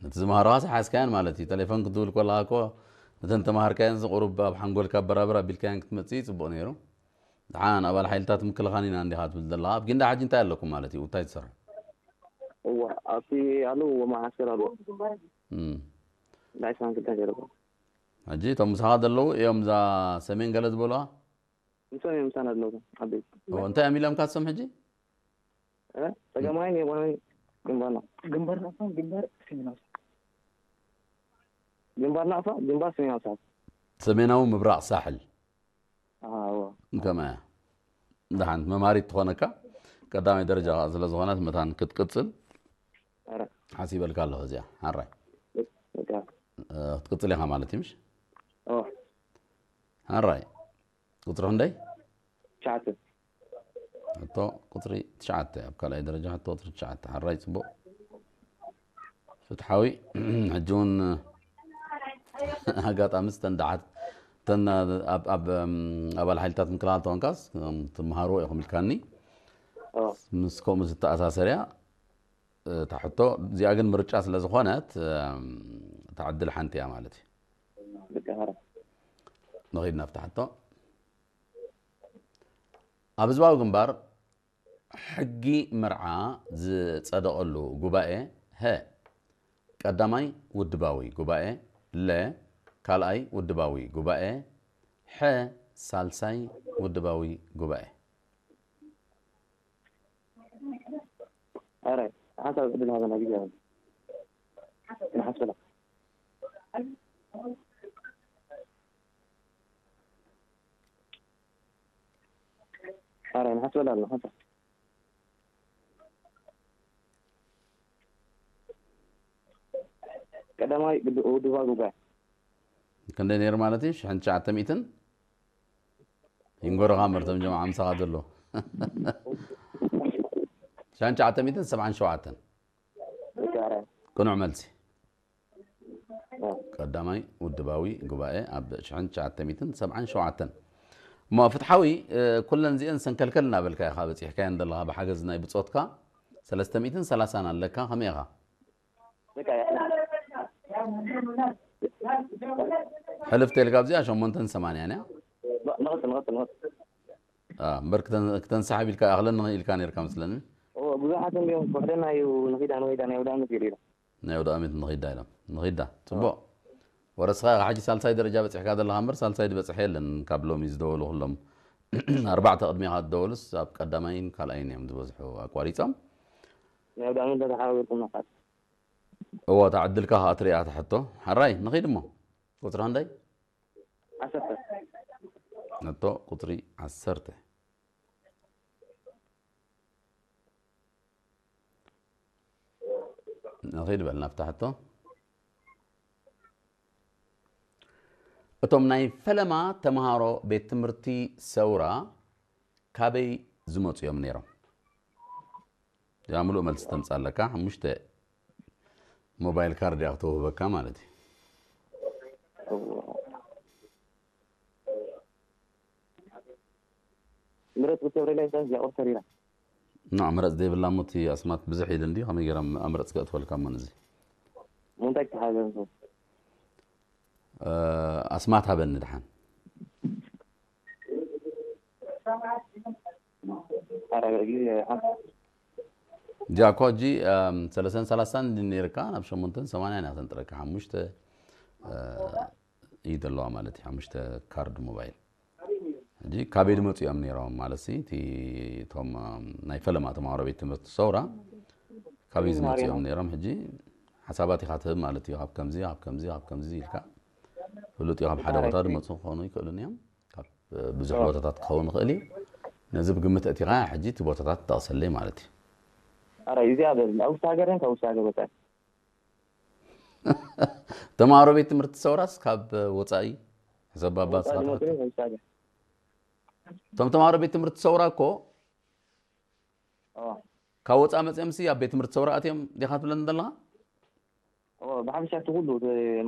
ነቲ ዝመሃርኻስ ሓዝካያን ማለት እዩ። ቴሌፎን ክትድውል ከለኻ እኮ ነተን ተማሃርካየን ቁሩብ ኣብ ሓንጎልካ በራበር ኣቢልካየን ክትመጽእ እዩ ጽቡቕ ነይሩ። ደሓን ኣባል ሓይልታት ምክልኻል ኢና እንዲኻ ትብል ዘለኻ። ኣብ ጊንዳዕ ሕጂ እንታይ ኣለኩም ማለት እዩ? እንታይ ትሰርሑ? እዋ ኣብቲ ኣለዎ መዓስከር ኣለዎ እም። ናይ ሳንክልታ ገረባ ሕጂ እቶም ምሳኻ ዘለዉ እዮም እዛ ሰሜን ገለ ዝበሉዋ? ምሶም እዮም ምሳና ዘለዉ ዓበይቲ ኦ፣ እንታይ እዮም ኢሎምካ እሶም ሕጂ? እ? ጸገማይን የማናይን ግንባርና ግንባር ናፋ ግንባር ሰሜናዊ ግንባር ናፋ ግንባር ሰሜናዊ ሳሕል ሰሜናዊ ምብራቕ ሳሕል ኣዎ ከመያ ደሓን መማሪት ትኾነካ ቀዳማይ ደረጃ ስለ ዝኾነት መታን ክትቅጽል ኧረ ሓሲበልካ ኣለኹ እዚኣ ሓራይ በቃ እ፣ ክትቅጽል ኢኻ ማለት እዩ ምሽ ኦ ሓራይ ቁጽሪ ክንደይ ትሽዓተ ሕቶ ቁጽሪ ትሽዓተ ኣብ ካልኣይ ደረጃ ሕቶ ቁጽሪ ትሽዓተ ሓራይ ጽቡቕ ፍትሓዊ ሕጂ እውን ኣጋጣሚ ዝተንዳዓት ተን ኣብ ኣብ እም፣ ኣባል ሓይልታት ምክልኻል ተኾንካስ እም፣ ትመሃርዎ ኢኹም ኢልካኒ ኦ ምስ ከምኡ ዝተኣሳሰር እያ እታ ሕቶ እዚኣ ግን ምርጫ ስለ ዝኾነት እም፣ እታ ዕድል ሓንቲ እያ ማለት እዩ በቃ ኧረ ንኺድ ናብታ ሕቶ ኣብ ህዝባዊ ግንባር ሕጊ መርዓ ዝጸደቐሉ ጉባኤ ሀ ቀዳማይ ውድባዊ ጉባኤ ለ ካልኣይ ውድባዊ ጉባኤ ሐ ሳልሳይ ውድባዊ ጉባኤ ኧረ ሓሳብ ዕድል ሃበና ግዜ ንሓስበላ ኧረ ንሓስበላ ኣሎ ሓንሳ ቀዳማይ ውድባ ጉባኤ ክንደይ ነይሩ ማለት እዩ ሽሕን ትሽዓተ ሚእትን ይንጎርኻ መርቶም ጀማዓ ምሳኻ ዘሎ ሽሕን ትሽዓተ ሚእትን ሰብዓን ሸውዓተን ቅኑዕ መልሲ ቀዳማይ ውድባዊ ጉባኤ ኣብ ሽሕን ትሽዓተ ሚእትን ሰብዓን ሸውዓተን እሞ ፍትሓዊ ኩለን እዚአን ሰንከልከል እናበልካ ኢኻ በፂሕካየን ዘለኻ ብሓገዝ ናይ ብፆትካ ሰለስተ ሚእትን ሰላሳን ኣለካ ከመይ ኢኻ ሕልፍ ተልካ ኣብዚኣ ሸሞንተን ሰማንያን እያ እምበር ክተንሳሓብ ኢልካ ኣኽለኒ ኢልካ ነርካ መስለኒ ብዙሓት እንዲዮም ፍሕደና እዩ ንኺዳ ንኺዳ ናይ ውዳምት ገሊሉ ናይ ወደ ኣመት ንኺዳ ኢሎም ንኺዳ ፅቡቕ ወረስኻ ኢኻ ሕጂ ሳልሳይ ደረጃ በፂሕካ ዘለኻ እምበር ሳልሳይ ዝበፅሐ የለን ካብ ሎሚ ዝደወሉ ኩሎም ኣርባዕተ ቅድሚኻ ዝደወሉስ ኣብ ቀዳማይን ካልኣይን እዮም ዝበዝሑ ኣቋሪፆም ናይ ውዳምት ተተሓባቢርኩም ናፋት እዎ እታ ዕድልካ ከዓ ትሪኣ ትሕቶ ሓራይ ንኺድ እሞ ቁፅሪ ክንደይ ዓሰርተ ሕቶ ቁፅሪ ዓሰርተ ንኺድ በል ናብታ ሕቶ እቶም ናይ ፈለማ ተምሃሮ ቤት ትምህርቲ ሰውራ ካበይ ዝመፁ እዮም ነይሮም እዚኣ ምሉእ መልሲ ተምፃ ኣለካ ሓሙሽተ ሞባይል ካርድ እያ ክተውህበካ ማለት እዩ ምረት ክትገብረለይ ሰብ ያቆርተር ኢላ ና ምረፅ ዘይብላ ሞ እቲ ኣስማት ብዝሕ ኢል እንዲ ከመይ ገይራ ኣምረፅ ከእትወልካ ሞ ነዚ እንታይ ክተሓዘ ኣስማት ሃበኒ ድሓን እዚኣ እኮ ሕጂ ሰለስተን ሰላሳን ነይርካ ናብ ሸሞንተን ሰማንያን እያ ተንጥረካ ሓሙሽተ እዩ ዘለዋ ማለት እዩ ሓሙሽተ ካርድ ሞባይል ሕጂ ካበይ ዝመፁ እዮም ነይሮም ማለት ሲ እቲ እቶም ናይ ፈለማ ተማሃሮ ቤት ትምህርቲ ሰውራ ካበይ ዝመፁ እዮም ነይሮም ሕጂ ሓሳባት ኢኻ ትህብ ማለት እዩ ካብ ከምዚ ካብ ከምዚ ካብ ከምዚ ኢልካ ፍሉጥ እዩ ካብ ሓደ ቦታ ዝመፁ ክኾኑ ይክእሉን እዮም ካብ ብዙሕ ቦታታት ክኸውን ይኽእል እዩ ነዚ ብግምት እቲኻ ሕጂ እቲ ቦታታት ጠቕሰለይ ማለት እዩ ኧረ እዚኣ በል ኣብ ውስጥ ሀገር ካብ ውስጥ ሀገር ወፃኢ ተማሃሮ ቤት ትምህርቲ ሰውራስ ካብ ወፃኢ ሕሰብ ኣባ ስማዕታ እቶም ተማሃሮ ቤት ትምህርቲ ሰውራ እኮ ካብ ወፃኢ መፅኦም ሲ ኣብ ቤት ትምህርቲ ሰውራ ኣትዮም ዲኻ ትብለኒ ዘለኻ ብሓፈሻ እቲ ኩሉ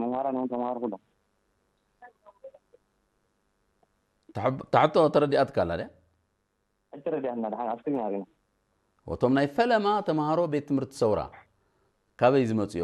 መምሃራን እውን ተምሃሮ ኩሎም ታሕቶ ተረዲኣትካ ኣላ ድያ ኣይተረዲኣና ድሓን ኣብ ስክሪን ኣሪና እቶም ናይ ፈለማ ተምሃሮ ቤት ትምህርቲ ሰውራ ካበይ ዝመፅኦ